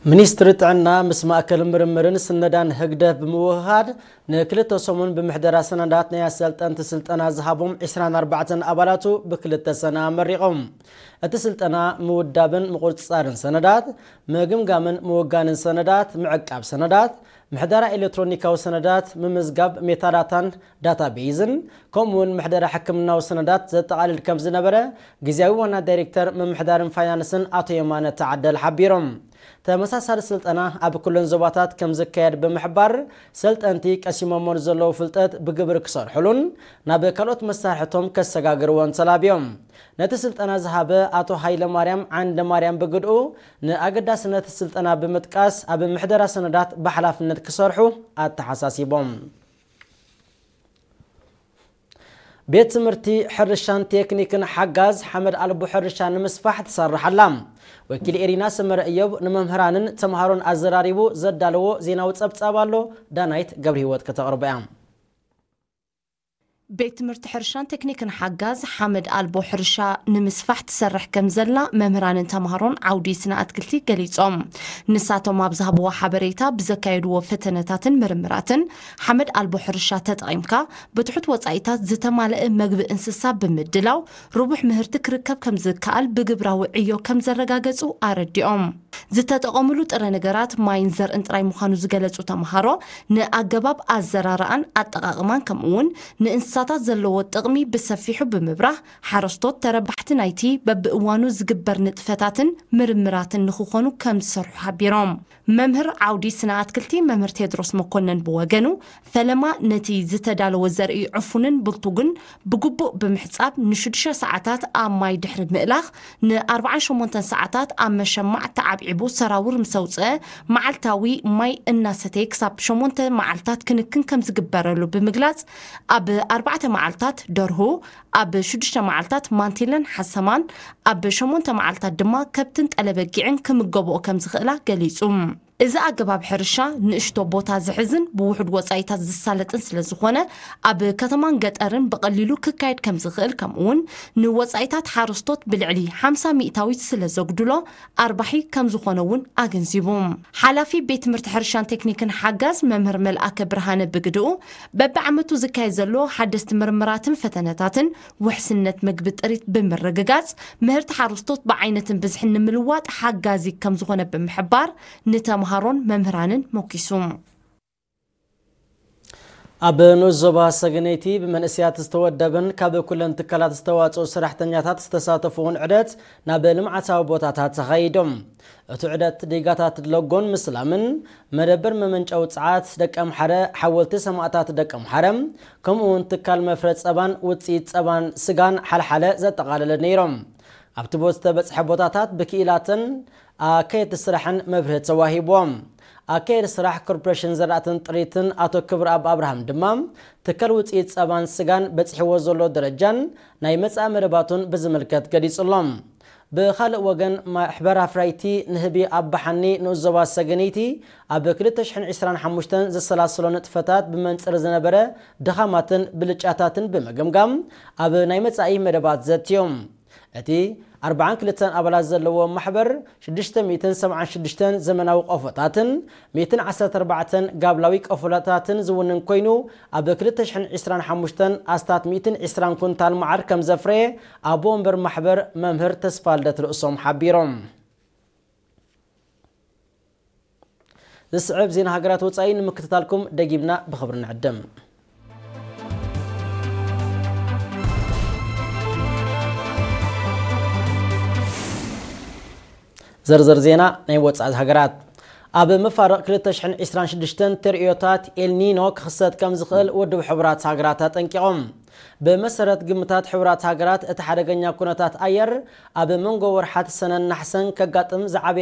ሚኒስትሪ ጥዕና ምስ ማእከል ምርምርን ስነዳን ህግደፍ ብምውህሃድ ንክልተ ሰሙን ብምሕደራ ሰነዳት ናይ ኣሰልጠንቲ ስልጠና ዝሃቦም ዕስራን ኣርባዕተን ኣባላቱ ብክልተ ሰነ ኣመሪቖም። እቲ ስልጠና ምውዳብን ምቁጽጻርን ሰነዳት፣ ምግምጋምን ምውጋንን ሰነዳት፣ ምዕቃብ ሰነዳት፣ ምሕደራ ኤሌክትሮኒካዊ ሰነዳት፣ ምምዝጋብ ሜታዳታን ዳታቤዝን፣ ከምኡውን ምሕደራ ሕክምናዊ ሰነዳት ዘጠቓልል ከም ዝነበረ ግዝያዊ ዋና ዳይሬክተር ምምሕዳርን ፋይናንስን ኣቶ የማነ ተዓደል ሓቢሮም። ተመሳሳሊ ስልጠና ኣብ ኩለን ዞባታት ከም ዝካየድ ብምሕባር፣ ሰልጠንቲ ቀሲሞሞ ንዘለዉ ፍልጠት ብግብሪ ክሰርሕሉን ናብ ካልኦት መሳርሕቶም ከሰጋግርዎን ተላብዮም። ነቲ ስልጠና ዝሃበ ኣቶ ሃይለ ማርያም ዓንደ ማርያም ብግድኡ፣ ንኣገዳስነት ስልጠና ብምጥቃስ ኣብ ምሕደራ ሰነዳት ብሓላፍነት ክሰርሑ ኣተሓሳሲቦም። ቤት ትምህርቲ ሕርሻን ቴክኒክን ሓጋዝ ሓመድ ኣልቦ ሕርሻ ንምስፋሕ ትሰርሕ ኣላ። ወኪል ኤሪና ሰመረ እዮብ ንመምህራንን ተምሃሮን ኣዘራሪቡ ዘዳለዎ ዜናዊ ጸብጻብ ኣሎ። ዳናይት ገብረ ህይወት ከተቕርቦ እያ። ቤት ትምህርቲ ሕርሻን ቴክኒክን ሓጋዝ ሓመድ ኣልቦ ሕርሻ ንምስፋሕ ትሰርሕ ከም ዘላ መምህራንን ተምሃሮን ዓውዲ ስነ ኣትክልቲ ገሊጾም። ንሳቶም ኣብ ዝሃብዎ ሓበሬታ፣ ብዘካየድዎ ፈተነታትን ምርምራትን ሓመድ ኣልቦ ሕርሻ ተጠቒምካ ብትሑት ወጻኢታት ዝተማልአ መግቢ እንስሳ ብምድላው ርቡሕ ምህርቲ ክርከብ ከም ዝከኣል ብግብራዊ ዕዮ ከም ዘረጋገጹ ኣረዲኦም። ዝተጠቐምሉ ጥረ ነገራት ማይን ዘርእን ጥራይ ምዃኑ ዝገለጹ ተምሃሮ፣ ንኣገባብ ኣዘራርኣን ኣጠቓቕማን ከምኡውን ንእንስሳታት ዘለዎ ጥቕሚ ብሰፊሑ ብምብራህ፣ ሓረስቶት ተረባሕቲ ናይቲ በብእዋኑ ዝግበር ንጥፈታትን ምርምራትን ንኽኾኑ ከም ዝሰርሑ ሓቢሮም። መምህር ዓውዲ ስነ ኣትክልቲ መምህር ቴድሮስ መኮነን ብወገኑ፣ ፈለማ ነቲ ዝተዳለወ ዘርኢ ዕፉንን ብልቱግን ብግቡእ ብምሕጻብ፣ ንሽዱሽተ ሰዓታት ኣብ ማይ ድሕሪ ምእላኽ፣ ንኣርብዓን ሸሞንተን ሰዓታት ኣብ መሸማዕ ተዓብዒቡ ሰራውር ምስ ኣውጽአ፣ መዓልታዊ ማይ እናሰተየ ክሳብ ሸሞንተ መዓልታት ክንክን ከም ዝግበረሉ ብምግላጽ፣ ኣብ ኣርባዕተ መዓልታት ደርሁ፣ ኣብ ሽዱሽተ መዓልታት ማንቲለን ሓሰማን፣ ኣብ ሸሞንተ መዓልታት ድማ ከብትን ጠለበጊዕን ክምገብኦ ከም ዝኽእላ ገሊጹ። እዚ ኣገባብ ሕርሻ ንእሽቶ ቦታ ዝሕዝን ብውሑድ ወጻኢታት ዝሳለጥን ስለ ዝኾነ፣ ኣብ ከተማን ገጠርን ብቐሊሉ ክካየድ ከም ዝኽእል፣ ከምኡውን ንወጻኢታት ሓረስቶት ብልዕሊ ሓምሳ ሚእታዊት ስለ ዘጉድሎ፣ ኣርባሒ ከም ዝኾነ እውን ኣገንዚቡ። ሓላፊ ቤት ትምህርቲ ሕርሻን ቴክኒክን ሓጋዝ መምህር መልኣከ ብርሃነ ብግድኡ፣ በብዓመቱ ዝካየድ ዘሎ ሓደስቲ ምርምራትን ፈተነታትን ውሕስነት መግቢ ጥሪት ብምርግጋጽ፣ ምህርቲ ሓረስቶት ብዓይነትን ብዝሕን ንምልዋጥ ሓጋዚ ከም ዝኾነ ብምሕባር፣ ንተምሃሮን መምህራንን ሞኪሱ። ኣብ ንኡስ ዞባ ሰገነይቲ ብመንእሰያት ዝተወደበን ካብ ኩለን ትካላት ዝተዋጽኡ ሰራሕተኛታት ዝተሳተፉ እውን ዑደት ናብ ልምዓታዊ ቦታታት ተኻይዶም። እቲ ዑደት ዲጋታት ለጎን ምስላምን መደበር መመንጨዊ ጸዓት ደቀምሓረ፣ ሓወልቲ ሰማእታት ደቀምሓረ፣ ከምኡ እውን ትካል መፍረ ጸባን ውጽኢት ጸባን ስጋን ሓልሓለ ዘጠቓለለ ነይሮም። ኣብቲ ቦ-፣ ዝተበጽሐ ቦታታት ብክኢላትን ኣካየድቲ ስራሕን መብርሂ ተዋሂብዎም። ኣካየዲ ስራሕ ኮርፖሬሽን ዘራእትን ጥሪትን ኣቶ ክብረኣብ ኣብርሃም ድማ፣ ትካል ውጽኢት ጸባን ስጋን በጺሕዎ ዘሎ ደረጃን ናይ መጻኢ መደባቱን ብዝምልከት ገሊጹሎም። ብኻልእ ወገን፣ ማሕበር ኣፍራይቲ ንህቢ ኣባሓኒ ንኡስ ዞባ ሰገነይቲ ኣብ ክልተ ሽሕን ዕስራን ሓሙሽተን ዘሰላሰሎ ንጥፈታት ብመንጽር ዝነበረ ድኻማትን ብልጫታትን ብምግምጋም ኣብ ናይ መጻኢ መደባት ዘትዮም። እቲ ኣርባዓን ክልተን ኣባላት ዘለዎ ማሕበር ሽዱሽተ ሚእትን ሰብዓን ሽዱሽተን ዘመናዊ ቆፎታትን ሚእትን ዓሰርተ ኣርባዕተን ጋብላዊ ቆፎታትን ዝውንን ኮይኑ፣ ኣብ ክልተ ሽሕን ዕስራን ሓሙሽተን ኣስታት ሚእትን ዕስራን ኩንታል መዓር ከም ዘፍረየ ኣቦ ወንበር ማሕበር መምህር ተስፋልደት ርእሶም ሓቢሮም። ዝስዕብ ዜና ሃገራት ወጻኢ ንምክትታልኩም ደጊምና ብኽብሪ ንዕድም። ዝርዝር ዜና ናይ ወጻኢ ሃገራት። ኣብ መፋርቕ ክልተ ሽሕን ዕስራን ሽዱሽተን ተርእዮታት ኤልኒኖ ክኽሰት ከም ዝኽእል ውድብ ሕቡራት ሃገራት ኣጠንቂቖም። ብመሰረት ግምታት ሕቡራት ሃገራት፣ እቲ ሓደገኛ ኩነታት ኣየር ኣብ መንጎ ወርሓት ሰነን ናሕሰን ከጋጥም ዝዓበየ